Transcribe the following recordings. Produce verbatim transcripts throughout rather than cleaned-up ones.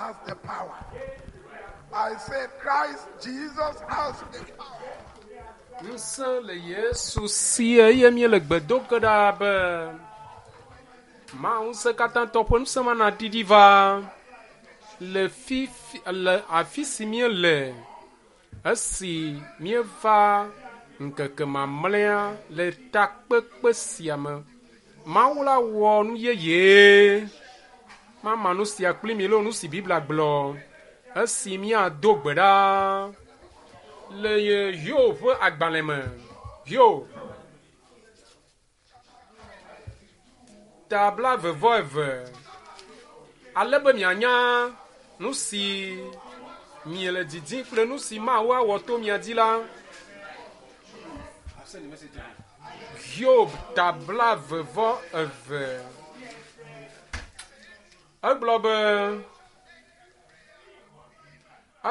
has the power. I said, Christ Jesus has the power. Ŋusẽ le Yesu si eye míele gbe do ge ɖa be Mawu ŋusẽkatãtɔ ƒe ŋusẽ ma naɖiɖi va le fifi le afi si míele esi míeva ŋkeke mamlɛa le takpekpe sia me. Mawu la wɔ nu yeye. Mama nu sia kpli mi loo nu si Biblia gblɔ esi míado gbe ɖa le Hiob ƒe agbalẽ me. Hiob ta blaeve vɔ eve ale be mianya nu si miele didim kple nu si Mawu awɔ to mia dzi la. Hiob ta blaeve vɔ eve. Egblɔ be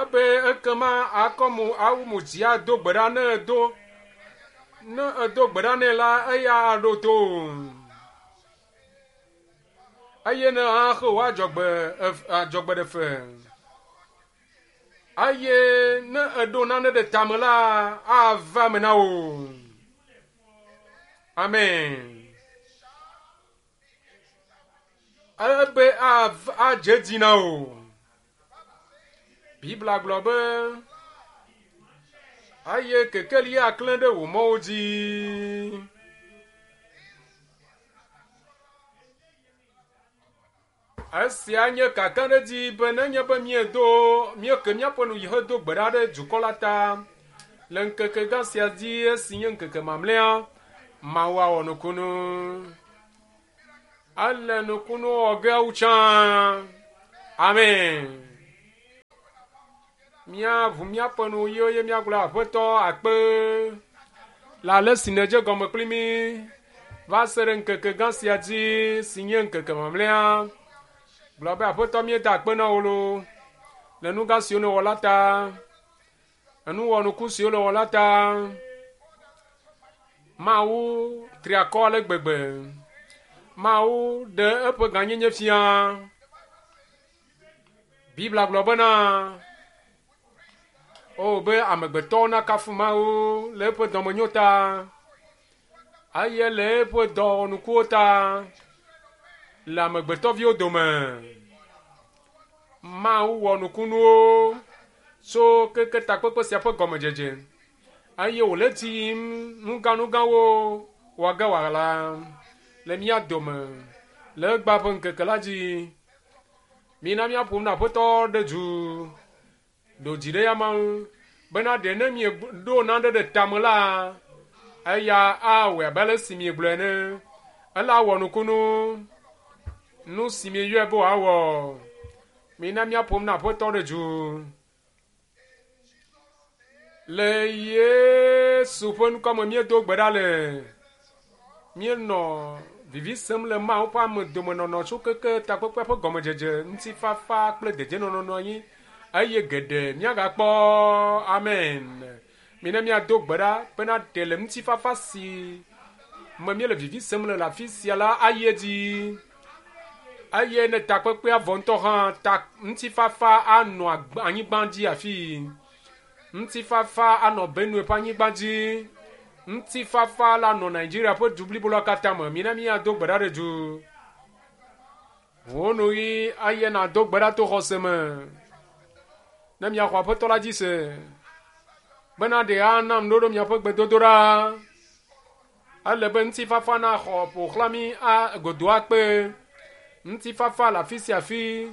ebe ekema akɔ mo awu mo dzi ado gbe ɖa ne edo ne edo gbe ɖa nɛ la eya aɖo to o. Eye ne axe wò adzɔgbe adzɔgbe ɖe fe. Eye ne eɖo nane ɖe tame la ava eme na wò. Amen. Ebe adze edzi na wò. Biblia gblɔ be eye kekeli aklẽ ɖe wò mɔwo dzi. Esia nye kakaɖedzi be nenye be míedo míeke míaƒe nu yi hedo gbe ɖa ɖe dukɔ la ta le ŋkeke gã sia dzi esi nye ŋkeke mamlɛa, Mawu awɔ nukunu. Ele nukunu wɔ ge wu tsã. Amen. Míaʋu míaƒe nu ɣiwo eye míagblɔ Aƒetɔ akpe le ale si nèdze gɔme kpli mí va se ɖe ŋkeke gã sia dzi si nye ŋkeke mamlɛa. Gblɔ be Aƒetɔ míeda akpe na wò loo le nu gã siwo nèwɔ la ta, enuwɔnuku siwo nèwɔ la ta. Mawu tri akɔ ale gbegbe. Mawu ɖe eƒe gãnyenye fia. Biblia gblɔ bena o be amegbetɔwo nakafu Mawu le eƒe dɔmenyo ta eye le eƒe dɔwɔnukuwo ta le amegbetɔviwo dome. Mawu wɔ nukunuwo tso keke takpekpe sia ƒe gɔmedzedze eye wòle edzi yim nugãnugãwo wɔ ge wòala le mía dome le egbea ƒe ŋkeke la dzi. Mina míaƒo nu na Aƒetɔ ɖe du ɖo dzi ɖe ya ma ŋu bena ɖe ne mieɖo nane ɖe tame la eya awɔe abe ale si miegblɔe ene. Ela wɔ nukunu nu si mieyɔe be wòawɔ. Mina míaƒo nu na Aƒetɔ ɖe du le Yesu ƒe ŋkɔ me míedo gbe ɖa le. Míenɔ vivi sem le Mawu ƒe ame domenɔnɔ tso keke takpekpea ƒe gɔmedzedze, ŋutifafa kple dedienɔnɔ nɔ anyi eye geɖe míagakpɔ. Amen. Mina míado gbe ɖa bena ɖe le ŋutifafa si me míele vivi sem le le afi sia la ayi edzi eye ne takpekpea vɔ ŋutɔ hã ta ŋutifafa anɔ anyigba dzi afii. Ŋutifafa anɔ Benue ƒe anyigba dzi. Ŋutifafa la nɔ Nigeria ƒe du blibo la katã me. Mina míado gbe ɖa ɖe du. Wò nu ɣi eye nàdo gbe ɖa to xɔse me. Ne miaxɔ Aƒetɔ la dzi se bena ɖe ana ŋuɖoɖo miaƒe gbedodoɖa. Ele be ŋutifafa naxɔ ƒo xlã mí a godo akpe. Ŋutifafa le afi sia afi.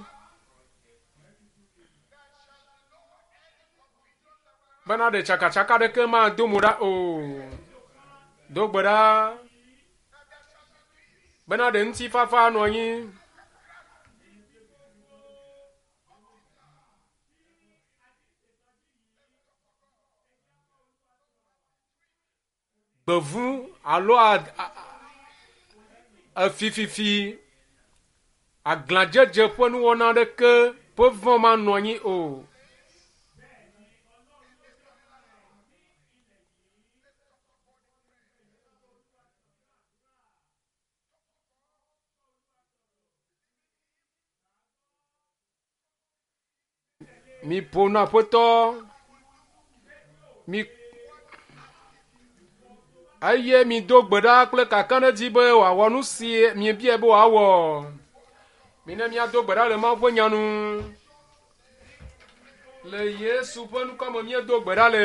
Bena ɖe tsakatsaka ɖeke mado mo ɖa o. Do gbe ɖa bena ɖe ŋutifafa anɔ anyi. Gbevu alo efififi aglãdzedze ƒe nuwɔna aɖeke ƒe vɔ̃ manɔ anyi o. Miƒo nu aƒetɔ. Mi eye mido gbe ɖa kple kakaɖedzi be wòawɔ nu si miebia be wòawɔ. Mina míado gbe ɖa le Mawu ƒe nya nu. Le Yesu ƒe ŋkɔ me míedo gbe ɖa le.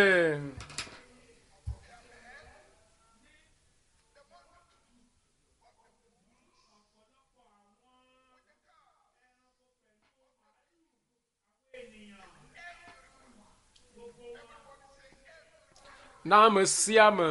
Na ame sia ame.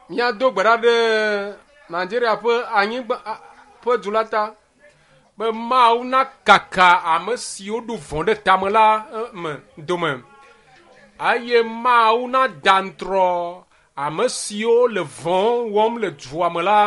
Míado gbe ɖa ɖe Nigeria ƒe anyigba ƒe du la ta be Mawu nakaka ame siwo ɖo vɔ̃ ɖe tame la me dome eye Mawu nada ŋutrɔ ame siwo le vɔ̃ wɔm le dua me la.